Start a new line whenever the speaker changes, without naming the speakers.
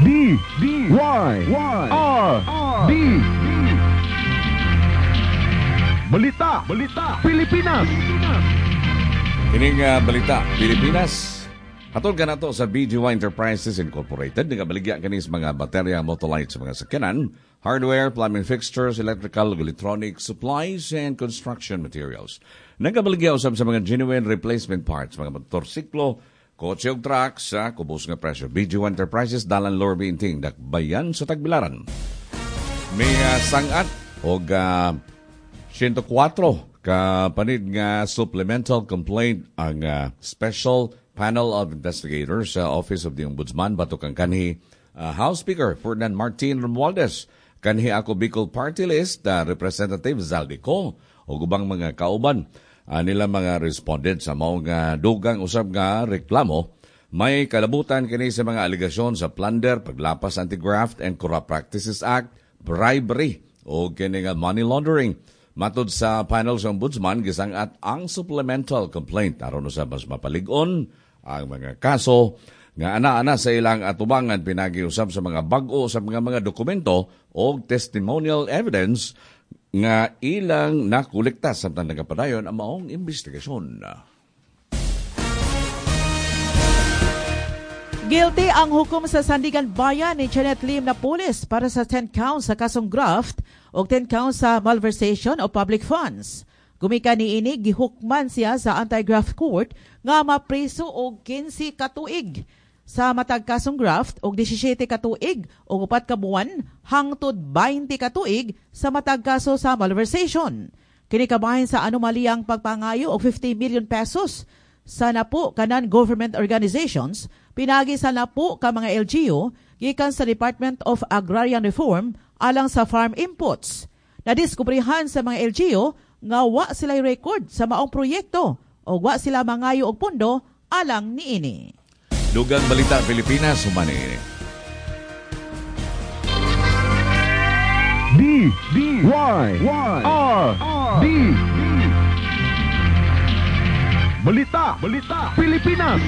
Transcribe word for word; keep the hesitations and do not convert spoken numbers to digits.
D D Y Y R D Balita, Balita, Pilipinas.
Kining uh, balita, Pilipinas. Hatol ka nato sa B G Y Enterprises Incorporated. Nagabaligya kani sa mga baterya, motolights sa mga sakyanan, hardware, plumbing fixtures, electrical, electronic supplies, and construction materials. Nagabaligya usab sa mga genuine replacement parts, mga motorsiklo, kotse ug truck sa kubos nga presyo. B G Y Enterprises, Dalan Lorby Inting, Dakbayan sa Tagbilaran. May uh, sangat og uh, one oh four ka panid nga supplemental complaint ang uh, Special Panel of Investigators sa Office of the Ombudsman batok ang kanhi uh, House Speaker Ferdinand Martin Romualdez, kanhi Ako Bicol Party List uh, Representative Zaldy Co ug ubang mga kauban uh, nila mga respondent sa maong uh, dugang usab nga reklamo. May kalabutan kini sa mga alegasyon sa plunder, paglapas Anti-Graft and Corrupt Practices Act, bribery o kini nga money laundering. Matod sa panel sa Ombudsman, gisangat ang supplemental complaint aron sa mas mapalig-on ang mga kaso nga ana-ana sa ilang atubangan pinagi usab sa mga bag-o sa mga mga dokumento o testimonial evidence nga ilang nakolekta samtang nagapadayon ang maong investigasyon.
Guilty ang hukom sa Sandigan Bayan ni Janet Lim na pulis para sa ten counts sa kasong graft o ten counts sa malversation of public funds. Gumika ni ini, gihukman siya sa anti-graft court nga mapriso og kinse ka tuig sa matag kasong graft og disisiete ka tuig og upat ka buwan hangtod twenty ka tuig sa matag kaso sa malversation. Kini kabahin sa anomaliyang pagpangayo og fifty million pesos sa napo ka non-government organizations pinagi sa napo ka mga L G U gikan sa Department of Agrarian Reform alang sa farm inputs. Nadiskubrihan sa mga L G U nga wa sila'y record sa maong proyekto o wa sila mangayo og pundo alang niini.
Dugang Balita Pilipinas, humani.
D D Y Y R D Balita, Balita, Pilipinas.